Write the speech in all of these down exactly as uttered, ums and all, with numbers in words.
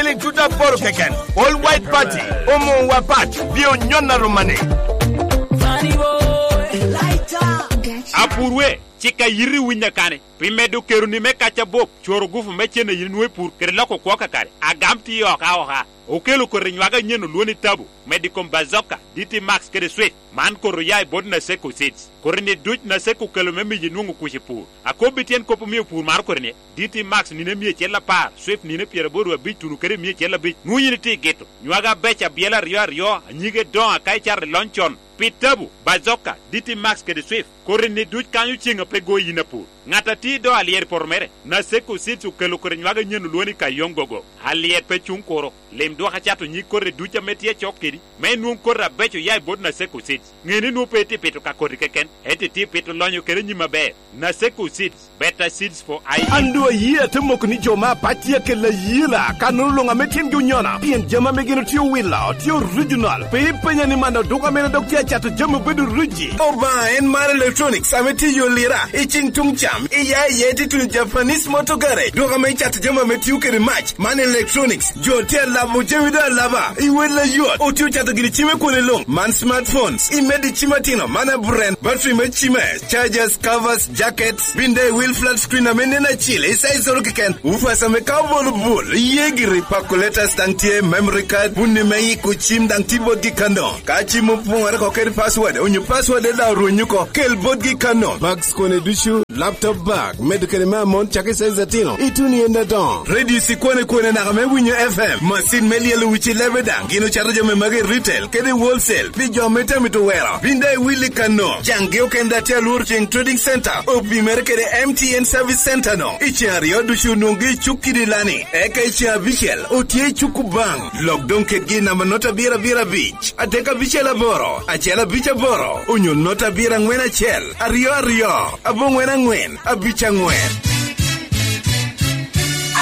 Ili tuta poro keken, All White Party, omo wa pat, bi onyon a romane. Apurwe, cik a yiri winyo kane, pi medo keroni me kac abop, cworo gufu me cen a yin nwoŋo i pur, kede loko kwo kakare, agam tye oka oka. Okelo koti nywage anyen olwoni tabu, medo i kom Bazooka, D T Max kede Swift, man koti oya i bot Naseko Seeds. Koti-ni duc Naseko okelo me miyo inwoŋo kuc i pur. Akobbi tyen kop omio pur maro koti-ni, D T Max nino emia acel apar, Swift nino pyeraboro abic tuno kede emia acel abic. Nwoŋo yin itye i gito. Nywage abeco abyela aryo aryo, anyige doŋo aka icato i lony con. Pi tabu, Bazooka, D T Max kede Swift, koti-ni duc kanyo ceŋ a pe goyi yin apur. Ŋat a tye i do alyet i poto mere, Naseko Seeds okelo koti nywage anyen olwoŋo ni Kayong Gogo. Alyet pe cuŋ kuro. Lim dwok acato nyig koti duc ame tye acok kedi, me inwoŋ koti abeco oya i bot Naseko Seeds. Ŋe ni nwoŋo pe itye pito ka koti keken, ento itye pito lonyo kede nyim aber. Naseko Seeds, better seeds for I E. An doŋ ayee ate moko ni jo me apac tye akelo ayela, kannono luŋ ame tyengi onyona, pien jami ame gin otye owilo, tye original. Pe ipenya ni man oduka mene dok tye acato jami obedo ruji. Obaŋa en mar electronics ame tye i yo lira, i cing tuŋ cam, i ya iye tye tuno Japanese Motor Garage, duka ame icato jami ame tio kede mac. Man electronics, jo tye alabo jami doŋ alaba, i wel ayot, otye ocato gini cime kwone luŋ. Man smartphones, i medi cim atino, man aburen, battery me cime, chargers, covers, jackets, binde i wil flat screen ame nen acil, i size oro keken, woofers ame ka obolo bul, iye giri, calculators daŋ tye, memory card, bunni me yiko cim daŋ tye botgi kano. Ka cim opoŋore oko kede password, onyo password daŋ orwenyo oko, kel botgi kano. Bags kone ducu, laptop bag, medo kede me amon cak i size atino, ituno i en adoŋo. Radio cikwane kwane naka me winyo F M, macin me lyelo wic i lebe daŋ, gin ocato jami magi i retail kede i wholesale, pi jo ame tye amito wero. Bin daŋ iwil i kano, caŋgi okene daŋ tye alworo ceŋ Trading Center, opimere kede M T N Service Center no. I ceŋ aryo ducu onwoŋgi i cuk kidi lani, eka i ceŋ abicel otye i cuk Kubaŋ. Lok doŋ kedgi i namba nota abiro abiro abic, adek abicel aboro, acel abic aboro, onyo nota abiro aŋwen acel, aryo aryo, aboŋwen aŋwen, abic aŋwen.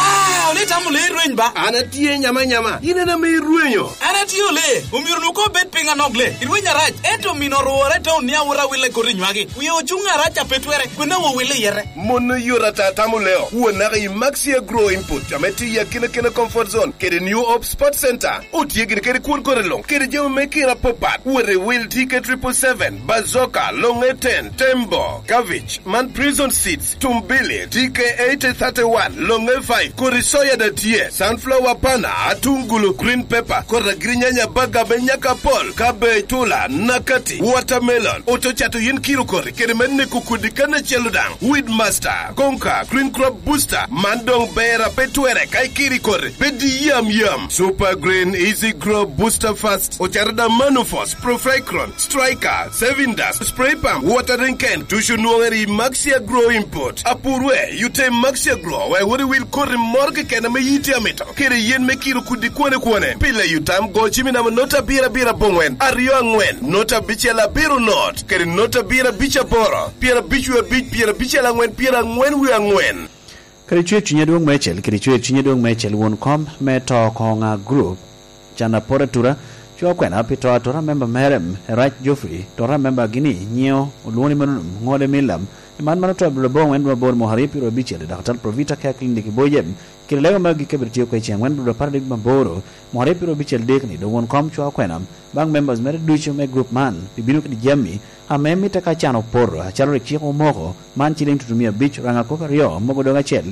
Ah, ole itamo lee irweny ba? An atye nyama nyama, in en ame irwenyo. An atye ole, omyero nu ko bed piny anok lee, irweny arac, ento omino orwore i taun ni awot awille koti nywagi. Wie ocuŋ arac a pe twere, kwena wo wille yete. Mon oyot ata tamo leo, won naka i Maxi Agro Input, ame tye i akina kina Comfort Zone, kede New Hope Sport Center. Otye gini kede kwon kore luŋ, kede jami me kira apapat. Wot i wil T K triple seven, Bazooka, Longe ten, Tembo, Cabbage, man Prison Seeds, Tumbili, T K eighty thirty-one, Longe five, kodi soya da tye, sunflower pana, atungulu, green pepper, kodi agirinyanya, baga, benyaka pol, cabbage, tula, nakati, watermelon. Oto cato yin kiro kori, kede me neko kodi kan acel daŋ. Weed Master, Konka, Green Crop Booster, man doŋ ber a pe twere ka ikiri kori, pe di yam yam. Super Green, Easy Grow, Booster Fast, ocato da Manufos, Profecron, Striker, Saving Dust, Spray Pump, Watering Can, ducu nwoŋere i Maxi Agro Input. Apurwe, yute i Maxi Agro, wek wot iwil koti moro keken ame yiti amito, kede yen me kiro kudi kwane kwane. Pile yutam go cimi namba nota abiro abiro aboŋwen, aryo aŋwen, nota abicel abiro not, kede nota abiro abic aboro, pyera abic wie abic, pyera abicel aŋwen, pyera aŋwen wie aŋwen. Kadi cwer cuny adwoŋ meicel, kadi cwer cuny adwoŋ meicel, won kom me to koŋa group, can apot atura, cwa kwena pi to atura member mere, Erac Geoffrey, to a member gini, nyiewo, olwoŋo ni Manunum, ŋode Milam, i man mano to abiro aboŋwen dwe aboro mwaka aryo pyero abicel, i Daktar Provita Care Clinic i Boyem, kede lego magi ka biro tye oko i ceŋ angwen dwe apar adek maboro, mwaka aryo pyero abicel dek ni, doŋ won kom cwa kwena, baŋ members mere ducu me group man, pi bino kede jami, ame mitte ka can opoto, acalo rik cik omoko, man ciliŋ tutumia abic, raŋa kop aryo, mogo doŋ acel.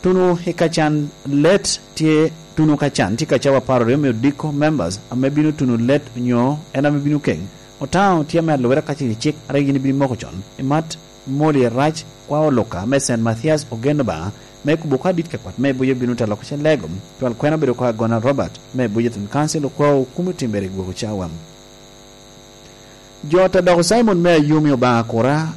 Tuno i kacan let tye, tuno kacan tye kacawa apar aryo me odiko members ame bino tuno let onyo en ame bino keŋ. Otaŋo tye ame alubere ka cik, cik a rik yin ibino moko con. Imat moli Erac, kwa oluka me Saint Mathias ogen Obaŋa, me kubo ka dit ka kwat me bujo bino telo ko Celego, twal kwena obedo ko Agona Robert, me bujo Thon Council okwa okumo timbere i gwoko cawa. Jo ata doko Simon me Ayumi Obaŋa Kura,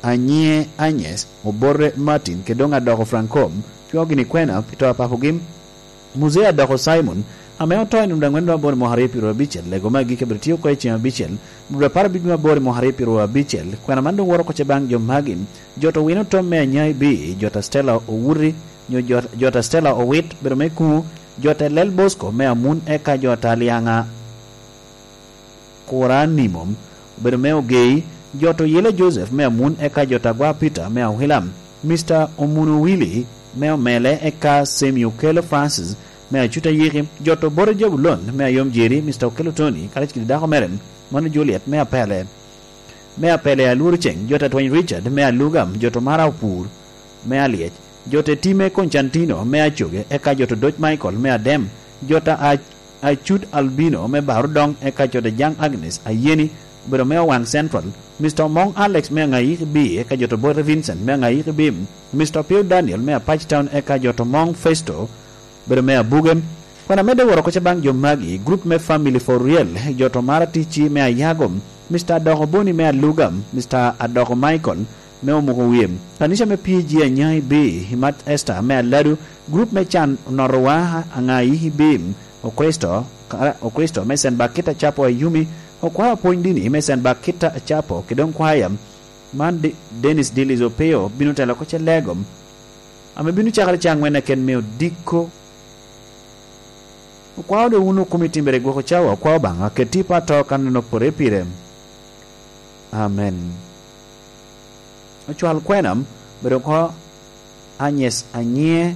Anyie Anyes, Obote Martin, kede doŋ adoko Franco, cwo gini kwena pi to a papogi. Muzee adoko Simon, ame oto i nino daŋ wen dwe aboro mwaka aryo pyero abicel, lego me agikki abiro tye oko i ceŋ abicel, dwe apar abiro aboro mwaka aryo pyero abicel, kwena man doŋ woro oko ce baŋ jo magi. Jo to wino tom me Anyai B, jo ta Stella Owuti, nyo jo, jo ta Stella Owit, bedo me kuŋu, jo ta Lel Bosco me Amun, eka jo ta Liaŋa Kura Nimom, obedo me Ogei, jo to Yela Joseph me Amun, eka jo ta Gwa Peter me Awila, Mister Omuno Willy me Omele, eka Semi Okello Francis, me Acuta Yiki, jot Obote Jabulon me Ayom Jeri, Mister Okello Tony, karacel kede dako mere, mano Juliet me Apele, me Apele Alworo Ceng, jot Atwany Richard me Alugam, jot Omara Opur me Alyec, jot Etime Constantino me Acoge, eka jot Odoc Michael me Adem, jot a-, Acut Albino me Barudong, eka jot Jaŋ Agnes Ayeni, obedo me Owaŋ Central, Mister Omoŋ Alex me Aŋayiki B, eka jot Obote Vincent me Aŋayiki B, Mister Opio Daniel me Apac Town, eka jot Omoŋ Festo, bedo me Abuge. Kwena medde woro koca baŋ jo magi, grup me Family for Real, jot Omara Ticci me Ayago, Mister Adoko Boni me Alugam, Mister Adoko Michael me Omuko Wie, kanica me P G Anyai B, Imat Esther me Aladu, grup me Can Onotowa Aŋayi B, Okristo, Okristo me Saint Bakita Capo Ayumi, Okwao Apwony Dini me Saint Bakita Capo, kede doŋ kwaya man De-, Dennis Dillis Opio bino telo koca lego ame bino cakere ca aŋwen aken me odiko. Okwao doŋ wun okumi timbere gwoko cawa, okwao Obaŋa, keti i pato kan en opore pire. Amen. Ocwal kwena, bedo oko Agnes Anyie,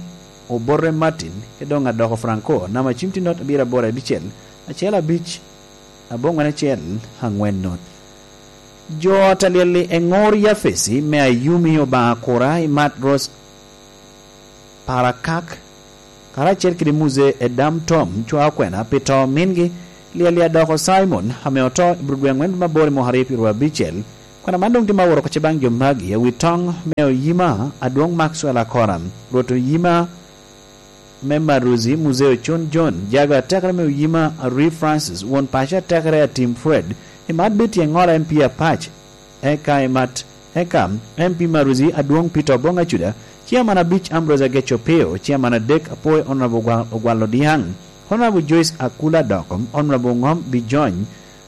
Obote Martin, kede doŋ Adoko Franco, namba cim tye not abiro aboro abicel, acel abic, aboŋwen acel, aŋwen not. Jo ot a lyel-li, Eŋor Yafesi me Ayumi, Obaŋa Kura, Imat Rose Parakak, karacel kede Muzee Edam Tom, cwa okwena pi to mingi, Lyel-li Adoko Simon, ame oto i Burudwe aŋwen dwe me aboro i mwaka aryo pyeraryo abicel. Kwena man doŋ tye ma woro koca baŋ jo magi, awi toŋ me Oyima Adwoŋ Maxwell Akora, Rwot Oyima me Maruzi, Muzee Ocon John, jago atekere me Oyima Arwi Francis, won paco atekere Atim Fred, Imat Betty Eŋola M P Apac, eka Imat, eka M P Maruzi Adwoŋ Peter Oboŋ Acuda, Chairman abic Ambrose Ageco Opio, Chairman adek Apoi Honorable Ogwa-, Ogwal Odiaŋ, Honorable Joyce Akula Adoko, Honorable Ŋom Bijony,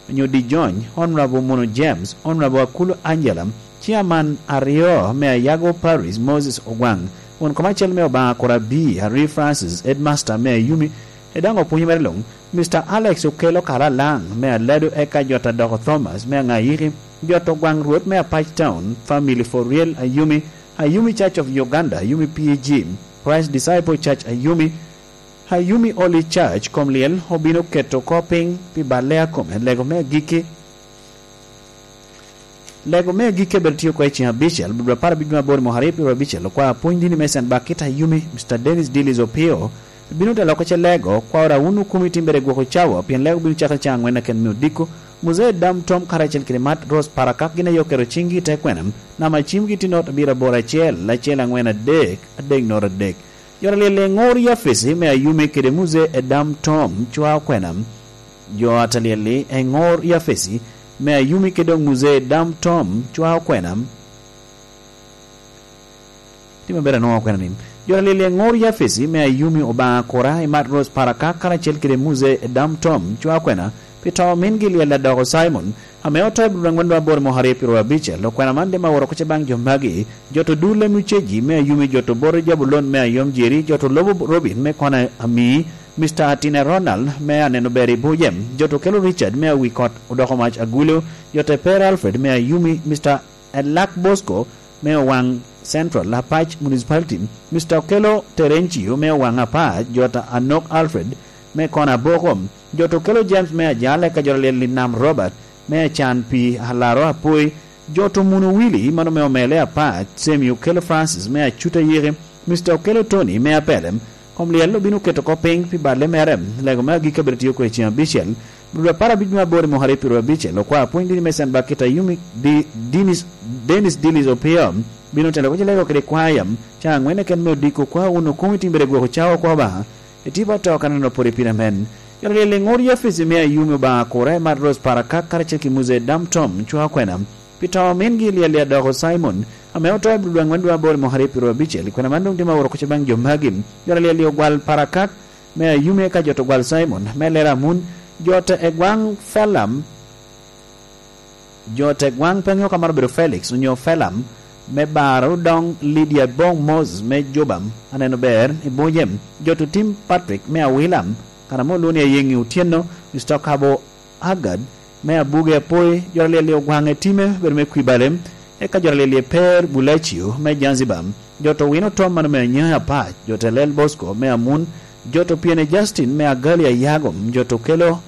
onyo Dijony, Honorable Mono James, Honorable Akulu Angela, Chairman aryo me Ayago Parish, Moses Ogwaŋ, won kom acel me Obaŋa Kura B, Arwi Francis, Headmaster me Ayumi, e daŋ opwonyo mere luŋ, Mister Alex Okello Kalalaŋ me Aladu, eka jot Adoko Thomas me Aŋayiki, jot Ogwaŋ Rwot me Apac Town, Family for Real Ayumi, Ayumi Church of Uganda, Ayumi P A G, Christ Disciple Church Ayumi, Ayumi Holy Church, kom lyel obino keto oko piny pi balle a kome, lego me agikki. Lego me agikki a bedo tye oko i ceng abicel, dwe apar abic dwe aboro i mwaka aryo pyeraryo abicel, okwao apwony dini me Saint Bakita Ayumi, Mister Dennis Dillis Opio, bino telo oko ce lego, kwao ra wun okumi timbere gwoko cawa, pien lego bino cakere caŋ aŋwen aken me odiko, Muzee Dam Tom karacel kede Mat Rose Parakak gin aye oketo ciŋgi i te kwena, namba cimgi tye not abiro aboro acel, acel aŋwen adek, adek not adek. Jo a lyel Eŋor Yafesi me Ayumi kede Muzee Edam Tom cwa okwena. Jo a lyel-li Eŋor Yafesi me Ayumi kede doŋ Muzee Edam Tom cwa okwena. Tye maber anwoŋo okwena ni. Jo a lyel Eŋor Yafesi me Ayumi, Obaŋa Kura, Imat Rose Parakak karacel kede Muzee Edam Tom cwa okwena. Pi to mingi lyel Adoko Simon, ame oto i Abril aŋwen dwe aboro i mwaka aryo pyeraryo abicel, okwena man dema woro kuca baŋ jo magi, jot Odule Muceji me Ayumi, jot Obote Jabulon me Ayom Jeri, jot Olobo Robin me Kona Ami, Mister Atine Ronald me Aneno Ber i Bujem, jot Okello Richard me Awi Kot Odoko Mac Agulu, jot Eper Alfred me Ayumi, Mister Elak Bosco me Owaŋ Central, Apac Municipality, Mister Okello Terencio me Owaŋ Apac, jot Anok Alfred me Kona Boko, jot Okello James me Ajal, eka jot a lyel Linam Robert me Acan pi Alaro Apoi, jot Omuno Willy, mano me Omele Apac, Semi Okello Francis me Acuta Yiki, Mister Okello Tony me Apelem, kom lyel obino keto oko piny pi balle mere, lego me agikki abedo tye oko i ceng abicel, dwe apar abic me aboro i mwaka aryo pyeraryo abicel, okwao apwony dini me Saint Bakita Ayumi, Di-, Dinis-, Dennis Dillis Opio, bino telo oko ce lego kede kwaya, caŋ aŋwen keken me odiko, okwao wun okumi timbere gwoko cawa oko Obaŋa, etipa to kan onoporo i pira men. Jot a lyel Eŋor Yafesi me Ayumi, Obaŋa Kura, Imat Rose Parakak karacel ki Muzee Dam Tom cwa okwena. Pi to mingi lyel Adoko Simon, ame oto i Abril dwe aŋwen dwe aboro i mwaka aryo pyeraryo abicel, kwena man doŋ tye ma woro kuca baŋ jo magi. Jot a lyel Ogwal Parakak me Ayumi, eka jot Ogwal Simon me Lera Amun, jot Egwaŋ Felam, jot Egwaŋ Peŋ Yok amaro bedo Felix onyo Felam me Barudong, Lydia Boŋ Moses me Jubam, Aneno Ber i Bujem, jot Otim Patrick me Awilam, kan ame olwoŋo ni Ayeŋi Otyeno, Mister Kabo Agad me Abuge Apoi, jot a lyel Ogwaŋ Etime bedo me Kwibale, eka jot a lyel Eper Bulacio me Zanzibar, jot Owino Tom mano me Anyai Apac, jot Elel Bosco me Amun, Joto Piene Justin me Agali Ayagom, Joto Kelo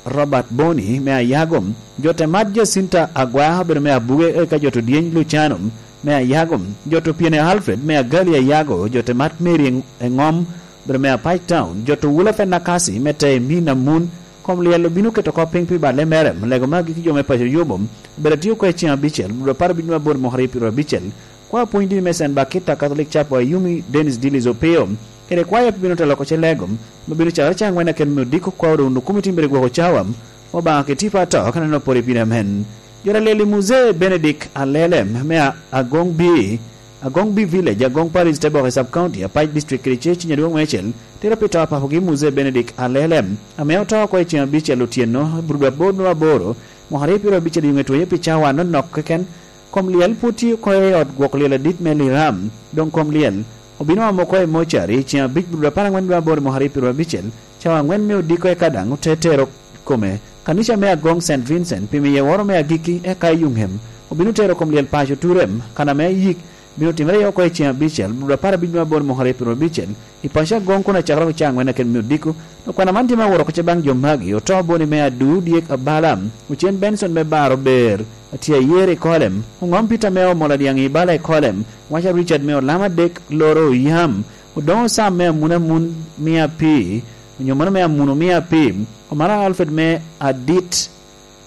Robert Boni me Ayagom, Joto Mat Jacinta Agwa obedo me Abuge, eka Joto Dyeny Lucano me Ayagom, Joto Piene Alfred me Agali Ayago, Joto Mat Mary Eng-, Engom obedo me Apac Town, Joto Wula Fenakasi me Tei Mina Mun. Kom lyel obino keto kop piny pi balle mere, lego magi ki jo me paco Yubo, obedo atio oko i ceng abicel, dwe apar abic me aboro mwaka aryo pyeraryo abicel. Kwa pwony dini me Saint Bakita Catholic Chapel, Ayumi Dennis Dillis Opio, kede kwaya bino telo oko ce lego, ma bino cakere ca angwen aken me odiko kwa odo wunu komiti mere gwoko cawa, Obaŋa keti pa to, ka neno pore pire amen. Jora leli Muzee Benedict Alelem, me a-, Agong B, Agong B Village, Agong Parish, Teboke Sub County, Apac District, kede ce cinya dwong me acel, tero pi to apapogi Muzee Benedict Alelem, ame oto oko i ceng abicel otyeno, brudu aboro nwa aboro, mwaka aryo pyeraryo abicel i ŋe twenye pi cawa anonok keken. Kom lyel pwod tye oko i ot gwok lyel adit me Liram. Doŋ kom lyel obino omo oko i mocari i ceng abic brudu apar aŋwen dwe aboro mwaka aryo pyeraryo abicel, cawa aŋwen me odiko eka daŋ ote tero kome kanica me Agong Saint Vincent pi miye woro me agikki eka i Yuŋem. Obino tero kom lyel paco Turem, kan ame yik bino timere iye oko i ceng abicel brudu apar abic dwe aboro mwaka aryo pyeraryo abicel, i paco Agong kun acakere oko ca aŋwen aken me odiko. Dok kwana man tye me aworo oko ce baŋ jo magi, oto boni me Adu Dyek Abala, Ocen Benson me Baro Ber, Atye Ayer i Kolem, Oŋom Peter me Omola Dyaŋ i Bala i Kolem, Waca Richard me Olam Adek Loro Oyam, Odoŋo Sam me Amun Amun Mia Pi, onyo mano me Amuno Mia Pi, Omara Alfred me Adit,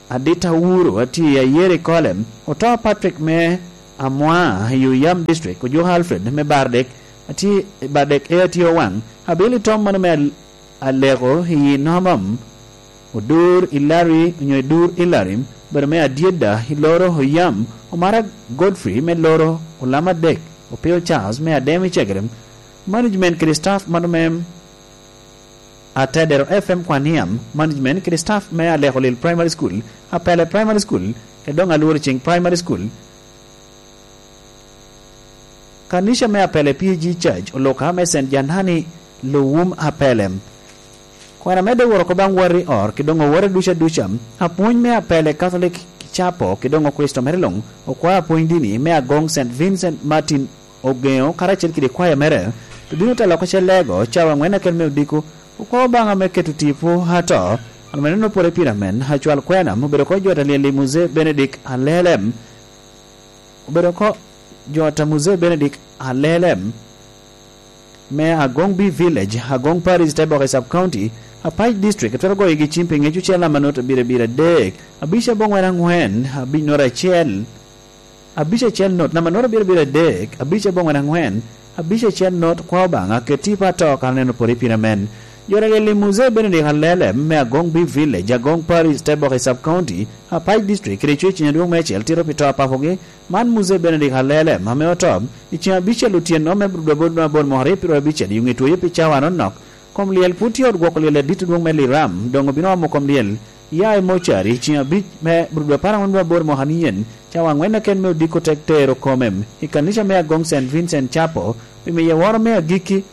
Adit Awuro, Atye Ayer i Kolem, Oto Patrick me Amwa i Oyam District, Ojuko Alfred me Bardek, Atye Bardek e Atye Owaŋ, Abili Tom mano me Al-, Aleko i Nomom, Odur i Larry, onyo i Dur i Larry, obedo me Adyedda i Loro Oyam, Omara Godfrey me Loro Olam Adek, Opio Charles me Adem i Cegerem, management kede staff mano me Atedero F M Kwaniam, management kede staff me Aleko Lil Primary School, Apele Primary School, kede doŋ Alworo Cing Primary School. Kanica me Apele P A G Church, oluka me Saint Janani, Luwum Apele. Kwena medde woro oko baŋ wati or, ki doŋ owote duca duca. Apwony me Apele Catholic Chapel, ki doŋ Okricito mere luŋ, okwa apwony dini me Agong Saint Vincent Martin Ogeŋo, karacel kede kwaya mere, bino telo oko ce lego, cawa aŋwen aken me odiko, okwa Obaŋa me keto tipo ato, ame neno pore pire amen, acwal kwena, obedo oko jot alyel i Muzee Benedict Alelem. Obedo oko jot a Muzee Benedict Alelem me Agong B Village, Agong Parish, Teboke Sub County, Apac District, twero goyogi cim pi ŋec ocel namba not abiro abiro adek, abic aboŋwen aŋwen, abic not acel, abic acel not, namba not abiro abiro adek, abic aboŋwen aŋwen, abic acel not, kwa Obaŋa, keti pa to, kara neno pore pire amen. Jora lili Muzee Benedict Alelem me Agong B Village, Agong Parish, Teboke Sub County, Apac District, kede cwec cinya dwong me acel, tito pi to apapogi, Man Muzee Benedict Alele, ame oto i ceng abicel otyeno me brudu aboro nwa aboro mwaka aryo pyeraryo abicel, i ŋe twoyo pi cawa anonok. Kom lyel pwod tye ot gwoko lyel adit adwoŋ me Liram, doŋ obino omo kom lyel ya i mocari i ceng abic me brudu apar aŋwen nwa aboro mwaka niyen, cawa aŋwen aken me odiko tek tero kome i kanica me Agong Saint Vincent Chapel, pi miye woro me agikki.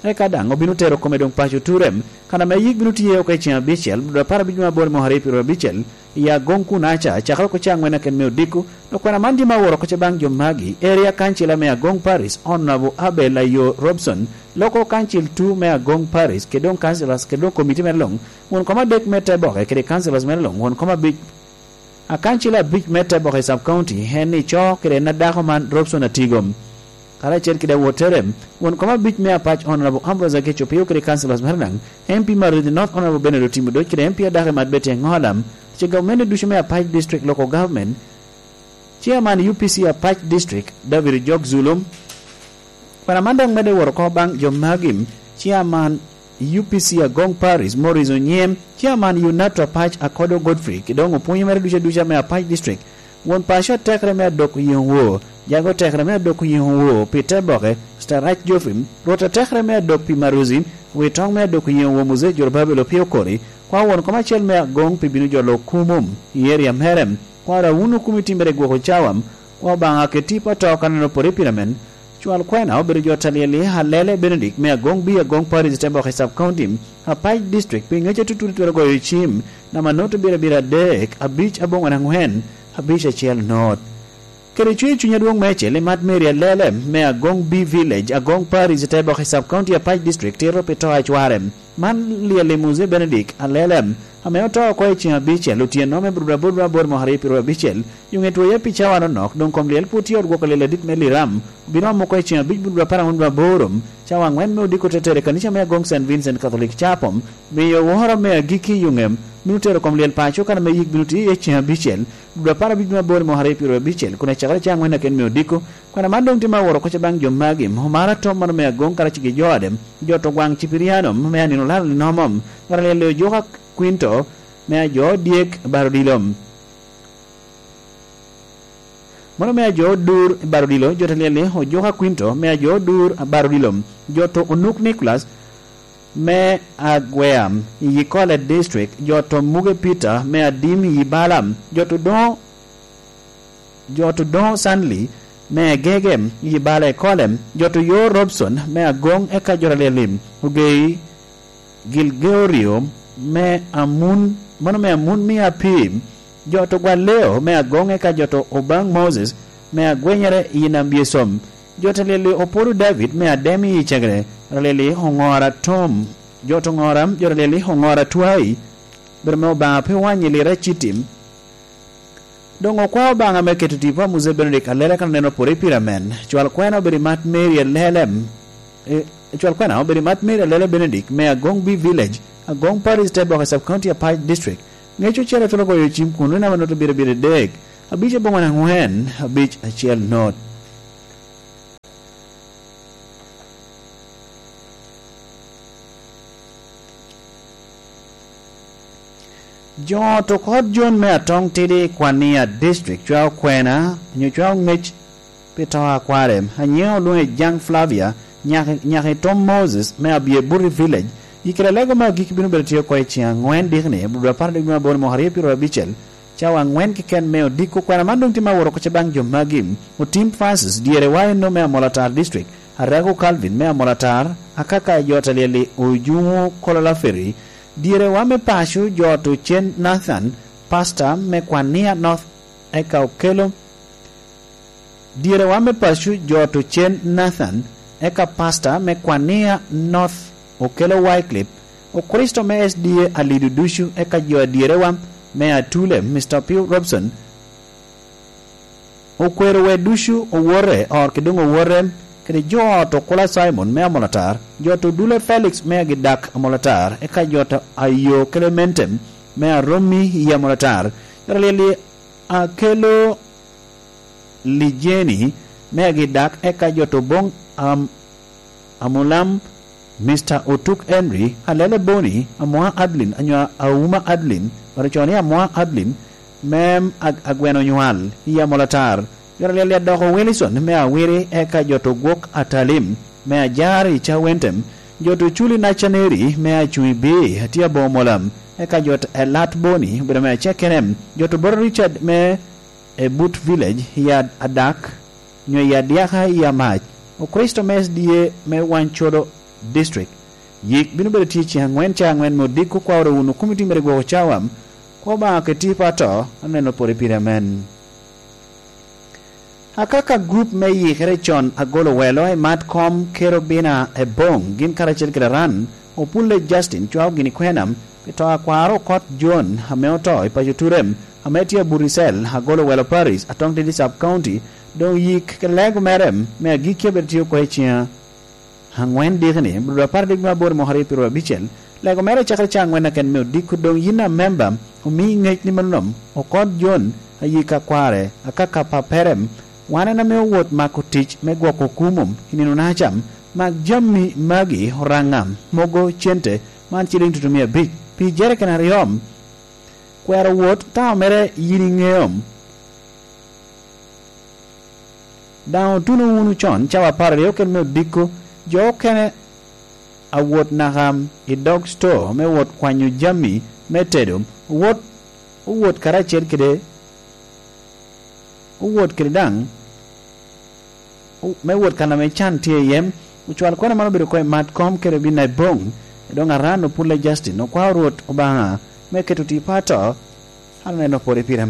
Eka daŋ obino tero kome doŋ paco Turem, kan ame yik bino tye oko i ceng abicel, dwe apar abic me aboro mwaka aryo pyeraryo abicel, i Agong Kunaca, cakere oko ca aŋwen aken me odiko, dok kwena man tye ma aworo oko ce baŋ jo magi, Area Councilor me Agong Parish, Honorable Abel Ayo Robson, Local Council two me Agong Parish, kede doŋ councilors, kede doŋ komiti mere luŋ, won kom adek me Teboke, kede councilors mere luŋ, won kom abic Akancil abic me Teboke Sub County, en ni co kede en adako man Robson Atigom, karacel kede awottere, won kom abic me Apac Honorable Ambrose Akeco Opio kede councilors mere daŋ, M P Maridi North Honorable Bernard Otimo Doc kede M P adako i Mat Betty Engola, ce gavumenti ducu me Apac District Local Government, Chairman U P C Apac District David Ojok Zulum, Kwena man dok medde woro oko baŋ jo magi, Chairman U P C Agong Parish, Morris Onyem, Chairman UNATRA Pac Akodo Godfrey, ki doŋ opwonyo mere duca duca me Apac District. Won paco atekere me adok yeŋo wo, jago tekere me adok yeŋo wo pi te boke, Mister Rac Geoffrey, Rwot atekere me adok pi Maruzi, wi toŋ me adok yeŋo wo Muzee Jorobabel Opio Kori, kwa won kom acel me Agong pi bino jolo kumum i area mere, kwa rawun okumi timmere gwoko cawam, Obaŋa keti pa to kan en opore pire men. Cwal kwena obedo jo talyel i Alele Benedict me Agong B Agong Parish i Teboke Sub County, Apac District, pi ŋec atutut twero goyo cim, namba not abiro abiro adek, abic aboŋwen aŋwen, abic acel not. Kede cwer cuny adwoŋ meicel i Mat Mary Alele me Agong B Village, Agong Parish, i Teboke Sub-County, Apac District, tito pi to a cware. Man lyel i Muse Benedict Alele, ame oto oko i ceŋ abicel otyeno me Budwabud me aboro mwaka aryo pyeraryo abicel. Yuŋe twoye pi cawa nonok, doŋ kom lyel pwod tye i ot gwoko lyel adit me Liram. Obino omo oko i ceŋ abic Budwabud apar aŋwen aboro, cawa aŋwen me odiko te tere i kanica me Agong Saint Vincent Catholic Chapel, miyo woro me agikki i yuŋe. Bino tero kom lyel paco kan ame yik bino tye iye ceŋ abicel, dwe apar abic me aboro i mwaka aryo pyeraryo abicel, kun acakere caŋ aŋwen aken me odiko. Kwena man doŋ tye me aworo kocca baŋ jo magi, Omara Tom mano me Agong karacel gi jo ade, jo to gwaŋ Cipiriano me anino laro linomo, Ralele Ojoka Quinto me ajo dyek Barodilo. Mano me ajo Odur Barodilo, jo to Ralele Ojoka Quinto me ajo Odur Barodilo, jo to Onuk Nicholas me Agwea i Kole District, jo to Muge Peter me Adim i Bala, jo to Doŋo, jo to Doŋo Sanli me Agege i Bala i Kole, jo to Yo Robson me Agong eka jo Ralele Ogei Gilgeorio me Amun, mano me Amun me Apim, jo to Gwaleo me Agong eka jo to Obaŋ Moses me Agwenyere i Nam Biesom, jo to Lili Opodo David me Adem i Cegere, Ralili Oŋora Tom, jo to Ŋora, jo Ralili Oŋora Twai, bedo me Obaŋa pe wany i lira citim. Doŋ okwao Obaŋa me keto tipo a Muse Benedict Alele kan oneno pwod i pire amen. Cwal kwena obedo i Mat Mary Alele, e, cwal kwena obedo i Mat Mary Alele Benedict me Agong B Village, Agong Parish, Teboke Sub-County, Apac District. Ŋec ocele twero goyo cim kun nino ame nut abiro abiro adek, abic aboŋwen aŋwen, abic acel nut. Jo to Kot Jon me Atong Tidi i Kwania District cwao kwena, onyo cwao ŋec pi to a kware. Anyiŋe olwoŋe Jaŋ Flavia, nyaka, nyaka i Tom Moses me Abyebuti Village. I kare alego me agikki bino bedo tye oko i ceŋ aŋwen dikni, Abudu apar dwe me aboro mwaka aryo pyeraryo abicel. Cawa aŋwen keken me odiko. Kwena man doŋ tye me aworo kocca baŋ jo magi: Otim Francis, dyere wa eno me Amolatar District, Arago Calvin me Amolatar, Akaka jo Talyeli Ojuŋo Kolola Ferry, dyere wa me paco jo to Cen Nathan, Pastor me Kwania North, eka okelo dyere wa me paco jo to Cen Nathan, eka Pastor me Kwania North, okelo Wycliffe, Okricito me S D A alido ducu, eka jo adyerewa me Atule, Mister Pio Robson, okwero we ducu owote, ot ki doŋ owote, kede jo ot Okula Simon me Amolatar, jo to Dule Felix me Agidak Amolatar, eka jo to Ayo Clemente me Aromi i Amolatar, jo to Lyeli Akelo Lijeni me Agidak, eka jo to Boŋ Am-, Amulam, Mister Otuk Henry, Alele Boni, Amoa Adlin, anyo Auma Adlin, baro coni Amoa Adlin, mem ag-, agweno nywal i Amolatar. Jo to Lyeli Adoko Wilson me Awiri, eka jo to Gwok Atalim me Ajar i Cawentem, jo to Culi Nacaneri me Acuŋ i Bii, atye aboŋo molam, eka jo to Elat Boni, obedo me Acekenem, jo to Boro Richard me e but village i ad-, adak, nyo i adyaka i amac, Okricito me S D A me Wancodo District. Yik bino bedo tye ceŋ aŋwen, ca aŋwen me odiko. Kwaworo wunu komiti mere gwoko cawa, kwo Obaŋa keti pato, aneno pwod i pire amen. Akaka gurup me yikere con agolo welo i mat kom Kerubina Ebong, gin karacel kede Aran, Opulle Justin cwao gini kwena pi to a kwaro Okot John ame oto i paco Turem, ame tye Aburisel, Agolo Welo Parish, Atong Tidi Sub County. Doŋ yik ke lego mere me agikki abedo tye oko i ceŋ aŋwen dikni, Abudu apar adek me aboro mwaka aryo pyeraryo abicel. Lego mere cakere ca aŋwen aken me odiko. Doŋ yin a memba, omi ŋec ni mano nom, Okot John, ayik akware, Akaka Paperem, wan en ame owot mako tic me gwoko kumo i nino-naca. Mak jami magi, Oraŋa, mogo cente, man ciliŋ tutumia abic pi jeriken aryo. Kwero wot, taŋo mere yin iŋeo. Daŋ otuno wunu con cawa apar aryo kede me odiko, jo okene a wot naka i dog store me wot kwanyo jami me tedo, owot, owot karacel kede, owot kede daŋ, o-, me wot kan ame can tye iye. Ocwal kwena man obedo oko i mat kom Kerubina Ebong, doŋ Aran Opulle Justin okwao Rwot Obaŋa me keto tipo ato, an aneno pwod i pire